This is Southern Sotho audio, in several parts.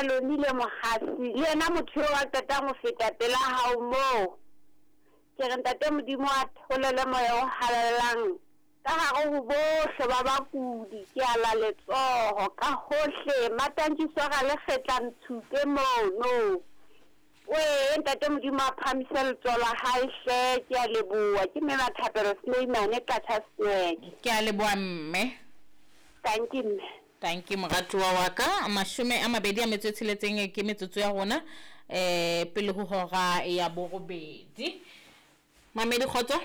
Lonile Mohasi, le yena motho eo a qetang ho feta pela hao moo. Ke re Ntate Modimo a theolele moya o halalelang ka hare ho bohle ba bakudi. Ke ala letsoho ka hohle, Matantšiso a Ralekgetla Ntshupe mono. Wee Ntate Modimo a phahamise letsoho la hae hle, ke a leboha. Ke Mme Mathapelo Sneimane, Qacha's Nek. Ke a leboha mme. Tanki mme. Tanki moratuwa wa ka. 26 ke metsotso ya rona pele ho hora ya borobedi. Mamedi kgotso.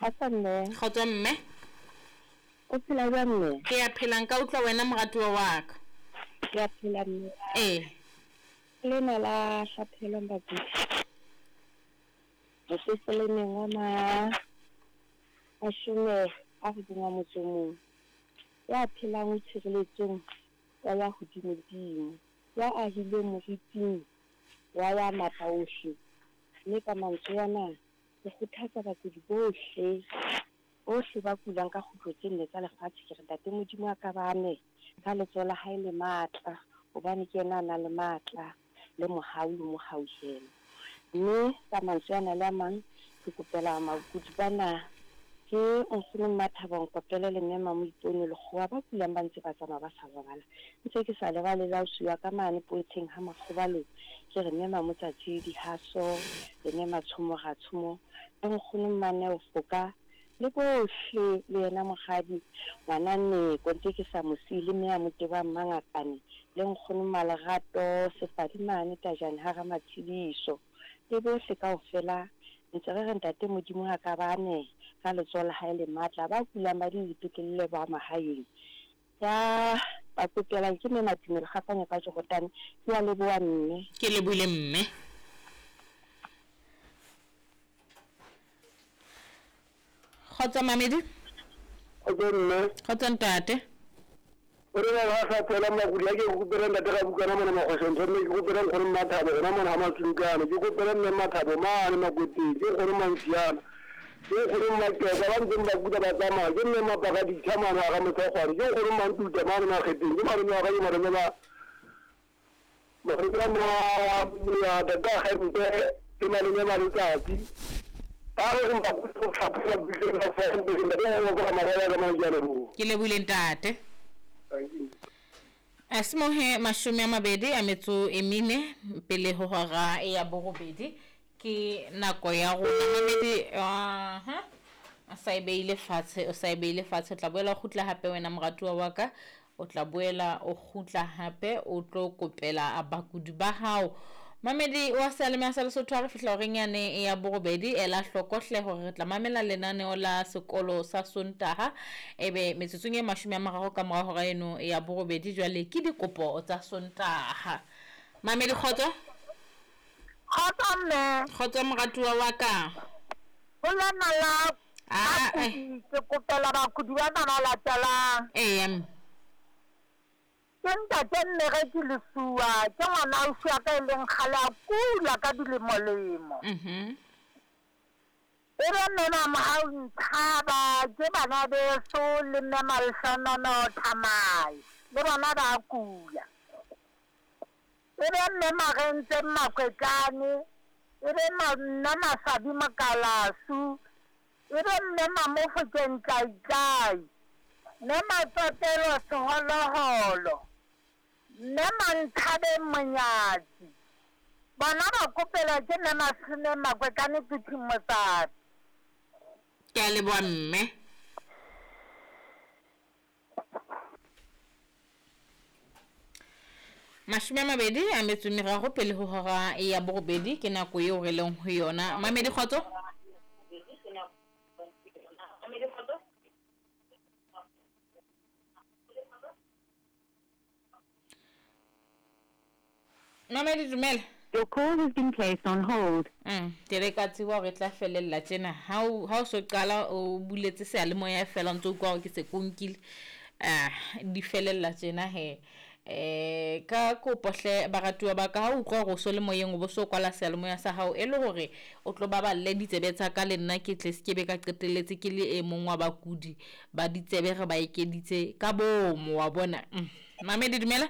Kgotso mme. Kgotso mme. O phela jwang mme? Ke a phela, nka utlwa wena moratuwa wa ka. Ke a phela mme. Ee. Lena la hlaphelwang bakudi. Mopeselemeng wa ma 91, ya phelang o tshireletsong ya ya hodimodimo, ya ahileng moriting wa ya matla ohle. Mme ka mantswe ana ke kgothatsa bakudi bohle, bohle ba kulang ka kgutlo tse nne tsa lefatshe, ke re Ntate Modimo a ka ba ame ka letsoho la hae le matla, hobane ke yena a nang le matla le mohau le mohauhelo. Mme ka mantswe ana le a mang ke kopela bakudi bana, ke nkgono Mmathabo Nkopele le mme Mamoipone Lekgowa ba kulang ba ntse ba tsamaya ba sa robala. Ntse ke sa lebale le ausi wa ka mane Poetsheng ha Makgobalo, ke re mme Mamotsatsi Dihaso le mme Matshomo Ratshomo le nkgono Mmaneo Foka le bohle, le yena mokgadi ngwana Neko ntse ke sa mo siye, le mme a mo tebang Mmangakane le nkgono Malerato Sefadi mane Tajane ha Ramatshediso le bohle kaofela. Ntse re re Ntate Modimo a ka ba ame ka letsoho la hae le matla, ba kulang ba di dipetlele le ba mahaeng. Ya ba kopelang ke mme Matumelo Kgafanya ka Jorotane. Ke a leboha mme. Ke lebohile mme. Kgotso Mamedi. Kgotso mme. Kgotso ntate. O re ba sa phela makudi a ke kopela ntate ga bukana mona makgoshong mme ke kopela nkgono Mmathabo gona mona ha Matsukane, ke kopela mme Mathabo mane Makweteng, ke nkgono Mantsiana, ke nkgono Mmakeka ba ntseng ba kuda ba tsamaya, ke mme Mapakaditha mane ga Motlhokgwane, ke nkgono Mantuta mane Makgeteng, ke malome wa ka, ke malome ba malome ba ya tata Gempe, ke malome ba letsatsi. Ba re re ba go tlhapela butle ba fa ntate go go marela ka mang ke a leboha. Ke lebohile ntate. Asimohe 24 pele ho hora ya borobedi ke nako ya rona. Mamedi aha a sa e beile fatshe, o sa e beile fatshe, o tla boela o kgutla hape wena moratuwa wa ka, o tla boela o kgutla hape o tlo kopela bakudi ba hao. Mamedi wa seyalemoya sa Lesotho, ha re fihla horeng yane ya borobedi, ela hloko hle hore re tla mamela lenaneo la sekolo sa Sontaha, ebe metsotsong e 30 ka mora hora eno ya borobedi jwale ke dikopo tsa Sontaha. Mamedi kgotso. Kgotso mme. Kgotso moratuwa wa ka. Ho lena la ke kopela bakudi ba ba latelang. Ee. Ke ntate Mmereki Lesuwa, ke ngwana ausi wa ka e leng kgale a kula ka dilemolemo. E be mme Mamohau Nthaba, ke bana beso le mme Malehlonono Thamai, le bona ba kula. E be mme Marentse Makwetane, e be nna Masabi Mokalasu, e be mme Mamofokeng Tlaitlai, mme Matsotelo Seholoholo, mme Manthabeng Monyatsi. Bona ba kopela ke mme Masome Makwetane Phuthing Motsatsi. Ke a leboha mme. 23 pele ho hora ya borobedi ke nako eo re leng ho yona. Mamedi kgotso. Mamedi dumela. Your call has been placed on hold. Ke re ka tseba hore e tla felella tjena. Ha o so qala o buletse seyalemoya fela ntse o utlwa hore ke se konkile. Di felella tjena he. Ka kopo hle baratuwa ba ka, ha o utlwa hore o so le moyeng o bo so kwala seyalemoya sa hao e le hore o tlo baballe ditsebe tsa ka le nna ke tle se ke be ka qetelletse ke le e mong wa bakudi ba ditsebe re ba ekeditse ka bomo wa bona. Mamedi dumela.